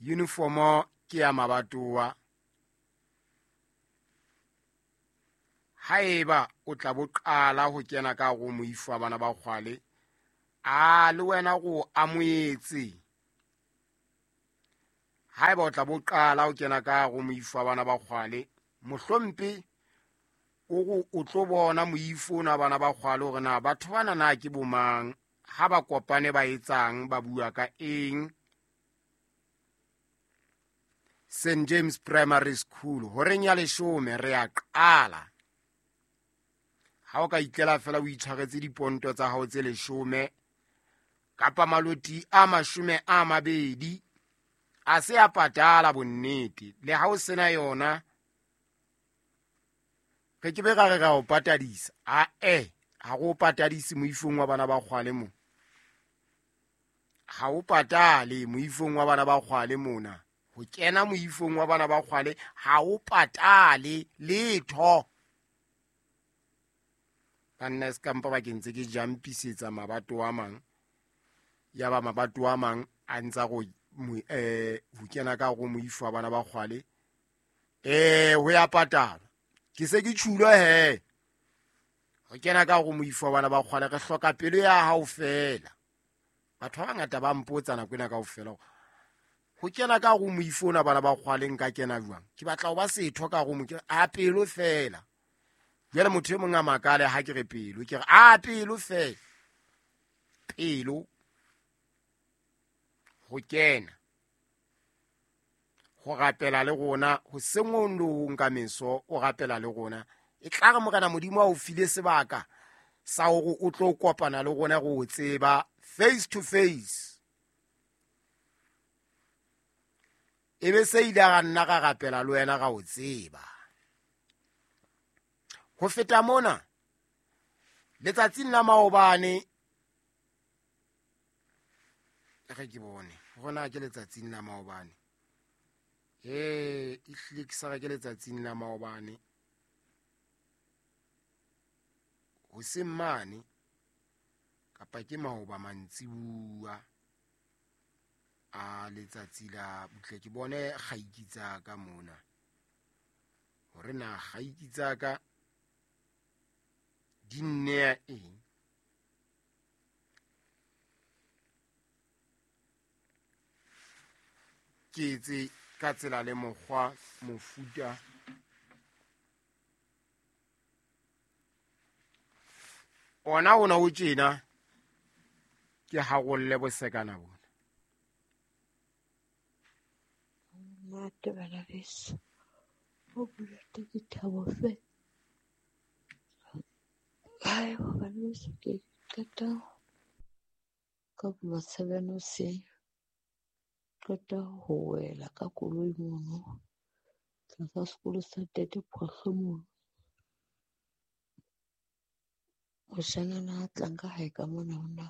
Uniformo ke ya mabatowa. Haeba o tla bo qala ho kena ka go moifo wa bana ba kgwale, a le wena go amoetse. Haeba o tla bo qala ho kena ka go moifo wa bana ba kgwale, mohlompe o go o tlo bona moifo ona wa bana ba kgwale hore na batho bana na ke bomang, ha ba kopane ba etsang, ba bua ka eng. St James Primary School horeng ya 10 re a qala. Ha o ka itlela fela o itshwaretse diponto tsa hao tse 10 kapa maloti a 20 a se a patala bonnete. Le ha o sena yona re ke be ra re ra o patadisa. A-e, ha re o patadise moifong wa bana ba kgwale mo. Ha o patale moifong wa bana ba kgwale mona. Ho kena moifong wa bana ba kgwale ha o patale letho. Banna se kampa ba ke ntse ke jampisetsa mabato a mang. Ya ba mabato a mang a ntsa go ho kena ka go moifo wa bana ba kgwale. Ho ya patala. Ke se ke tjhulo he. Ho kena ka go moifo wa bana ba kgwale re hloka pelo ya hao fela. Batho ba bangata ba mpotsa nako ena kaofela. Ho kena ka go moifo ona bana ba kgwale nka kena jwang? Ke batla ho ba setho ka go mo a pelo fela. Jwale motho e mong a makale ha ke re pelo, ke re a pelo fela. Pelo ho kena. Ho rapela le rona, ho sengong le ho nka meso, o rapela le rona. E tla re Morena Modimo a o file sebaka sa hore o tlo kopana le rona re o tseba face to face. E be se ile ra nna ra rapela le wena ra o tseba. Ho feta mona, letsatsing la maobane, re ke bone hore na ke letsatsing la maobane. E hlile ke sa re ke letsatsing la maobane. Hoseng mane kapa ke maoba mantsibuya a letsatsi la butle, ke bone kgaiki tsa ka mona hore na kgaiki tsa ka di nnea eng. Ke etse ka tsela le mokgwa mofuta ona ona o tjena ke harolle bosekana bona. Monate bana beso, ho monate ke thabo fela. Hae bana beso, ke qeta ka bula 7 hoseng, qeta ho wela ka koloi mono tlasa sekolo sa Ntate Phohlo mono. Moshanyana a tlang ka hae ka mona hona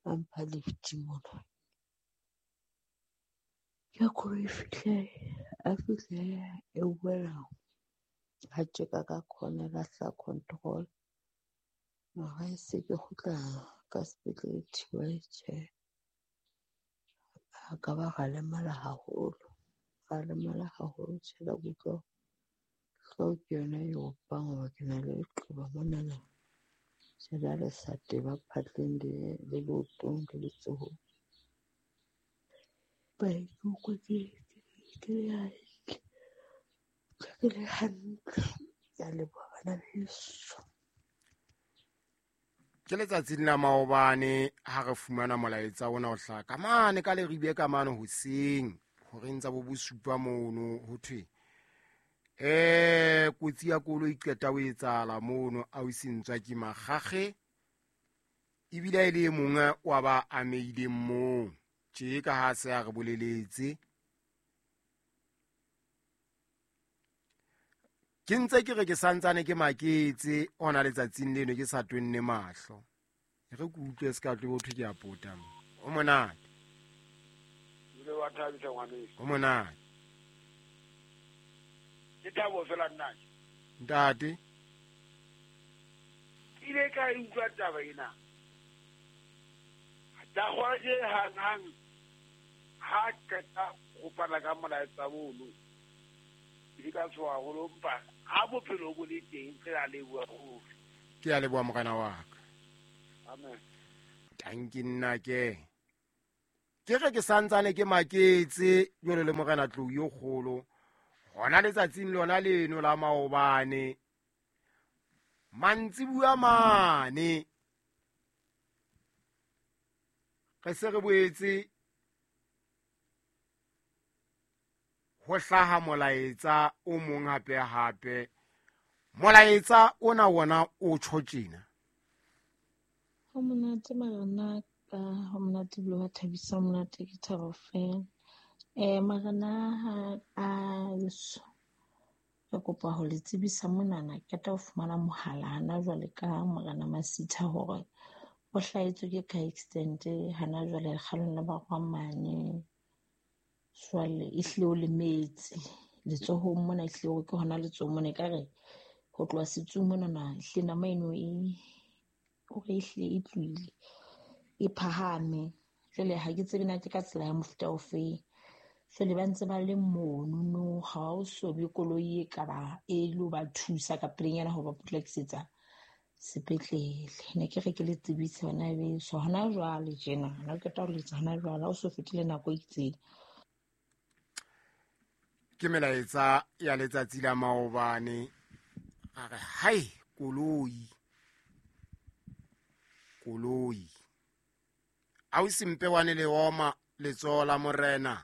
a mpha lift mona. Ke koloi fihle, a fihle e wela ha tjeka ka corner la sa control. Mara e se ke kgutla ka sepetlele thiba tjhe. A ka ba ra lemala haholo. Ra lemala haholo tjhe la kutlwa. Hlooho ke yona e opang hoba ke na le leqeba monana. Tjhe la le sa teba phatleng le leotong le letsohong. Ba ke utlwa ke le hantle. Ke le hantle. Ke a leboha bana beso. Ke letsatsing la maobane ha re fumana molaetsa ona o hlaha ka mane ka Leribe ka mane hoseng horeng tsa bo bosupa mono ho thwe kotsi ya koloi qeta ho etsahala mono ausi Ntswa ke Makgakge ebile e le e mongwe wa ba ameileng moo tje ka ha se a re boleletse. Ke ntse ke re ke santsane ke maketse ona letsatsing leno ke sa tonne mahlo. E re ke utlwe se ka tlo ho thwe ke a pota mo. O monate. Ile wa thabisa ngwaneso. O monate. Ke thabo fela nna. Ntate. Ke ile ka e utlwa taba ena. Ta hwa je hang hang. Ha qeta go fana ka molaetsa mono, ke ka tshoha haholo, empa ha bophelo bo le teng re a leboha ruri. Ke a leboha morena wa ka. Amen. Tanki nna ke. Ke re ke santsane ke maketse jwalo le morena Tlou yo kgolo. Hona letsatsing lona leno la maobane. Mantsibuya mane. Re se re boetse ho hlaha molaetsa o mong hape hape. Molaetsa ona wona o tjho tjena. Ho monate marena ka, ho monate ebile wa thabisa, ho monate ke thabo fela. Marena ha a eso, re kopa ho le tsebisa monana, ke qeta ho fumana mohala hana jwale ka morena Masitha hore o hlahetswe ke car accident hana jwale lekgalong la Barwamane. Jwale e hlile o lemetse letsohong mona, e hlile hore ke hona letsohong mona, ekare ho tloha setsung monana, e hlile nama eno e hore e hlile e tlohile e phahame. Jwale ha ke tsebe na ke ka tsela ya mofuta ofe. Jwale ba ntse ba le mono no, ha o so be koloi e ka ba e lo ba thusa ka pelenyana ho ba potlakisetsa sepetlele. Ne ke re ke le tsebise hona beso hona jwale tjena, hona ke qeta ho letsa hona jwale, ha o so fetile nako e itseng. Ke melaetsa ya letsatsi la maobane. A re hai koloi, koloi. Ausi mpe wane le oma letsoho la morena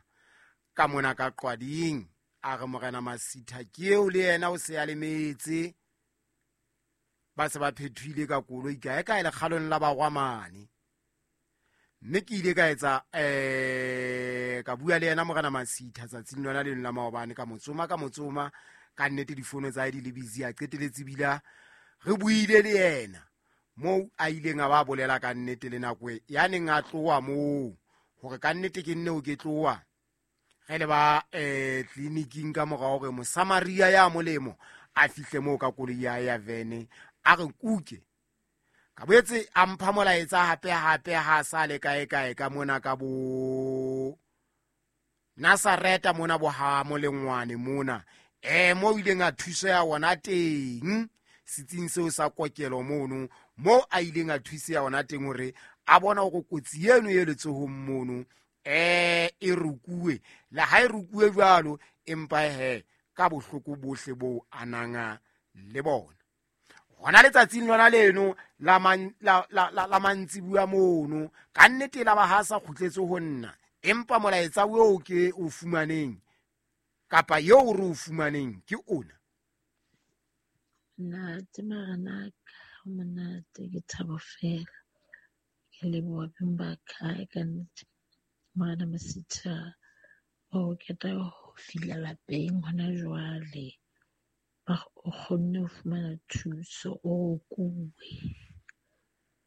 ka mona ka qwading. A re morena Masitha ke eo le yena o se a lemetse. Ba se ba phethile ka koloi kae kae lekgalong la Barwamane. Mme ke ile ka etsa, ka bua le yena morena Masitha tsatsing lona leno la maobane, ka motsoma, ka motsoma, ka nnete difono tsa hae di le busy, a qeteletse bila re buile le yena moo a ileng a ba bolela ka nnete le nako e ya neng a tloha moo, hore ka nnete ke nne o ke tloha re le ba, tleliniking ka mora hore Mosamaria ya molemo a fihle moo ka koloi ya ya vene, a re kuke. Ka boetse a mpha molaetsa hape hape ha sa le kae kae ka mona ka bo Nazareta mona bo ha molengwane mona. Mo ileng a thuseha ona teng setsing seo sa kokelo mono, mo a ileng a thuseha ona teng hore a bona hore kotsi eno e letsohong mono, e rukuwe. Le ha e rukuwe jwalo, empa he ka bohloko bohle bo ananga le bona. Hona letsatsing lona leno la man, la, la, la, la mantsibuya mono, ka nnete la ba ha sa kgutletse ho nna, empa molaetsa oo ke o fumaneng kapa eo re o fumaneng ke ona. Ntate marena ka, ho monate ke thabo fela. Ke leboha beng ba ka, ka nnete. Morena Masitha o qeta ho fihla lapeng hona jwale. Ba o kgonne ho fumana thuso, o kuwe.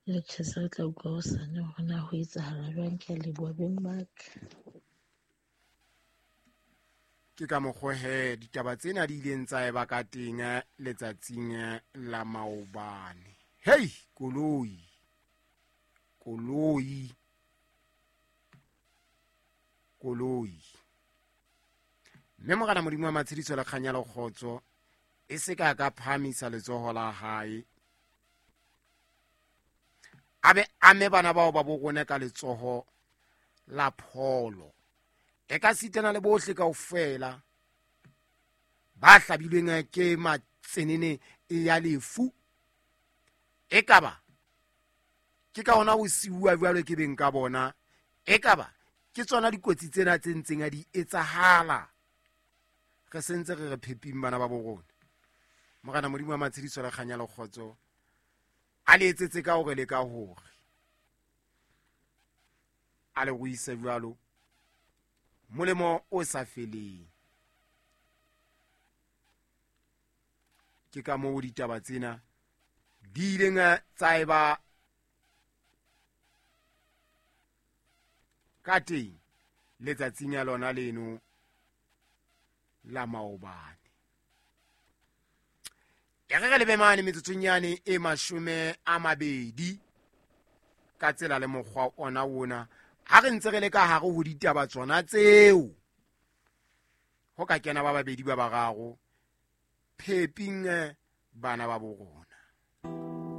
Le tjhe, se re tla utlwa hosane hore na ho etsahala jwang. Ke a leboha beng ba ka. Ke ka mokgwa he ditaba tsena di ileng tsa eba ka teng letsatsing la maobane. Hei, koloi, koloi, koloi. Mme morena Modimo wa matshediso le kganya le kgotso e se ka ka phahamisa letsoho la hae, a be ame bana bao ba bo rona ka letsoho la pholo. E ka sitana le bohle kaofela ba hlabilweng ke matsenene ya lefu. Ekaba ke ka hona ho siuwa jwalo ke beng ka bona, ekaba ke tsona dikotsi tsena tse ntseng a di etsahala. Re sentse re re pheping bana ba bo rona. Morena Modimo wa matshediso le kganya le kgotso a le etsetse ka hore le ka hore a le ruise jwalo molemo o sa feleng. Ke ka moo ditaba tsena di ileng tsa eba ka teng letsatsing ya lona leno la maobane. E re re lebe mane metsotsong yane e 20 ka tsela le mokgwa ona ona Ha re ntse re le ka hare ho ditaba tsona tseo, ho ka kena ba babedi ba bararo pheping bana ba bo rona.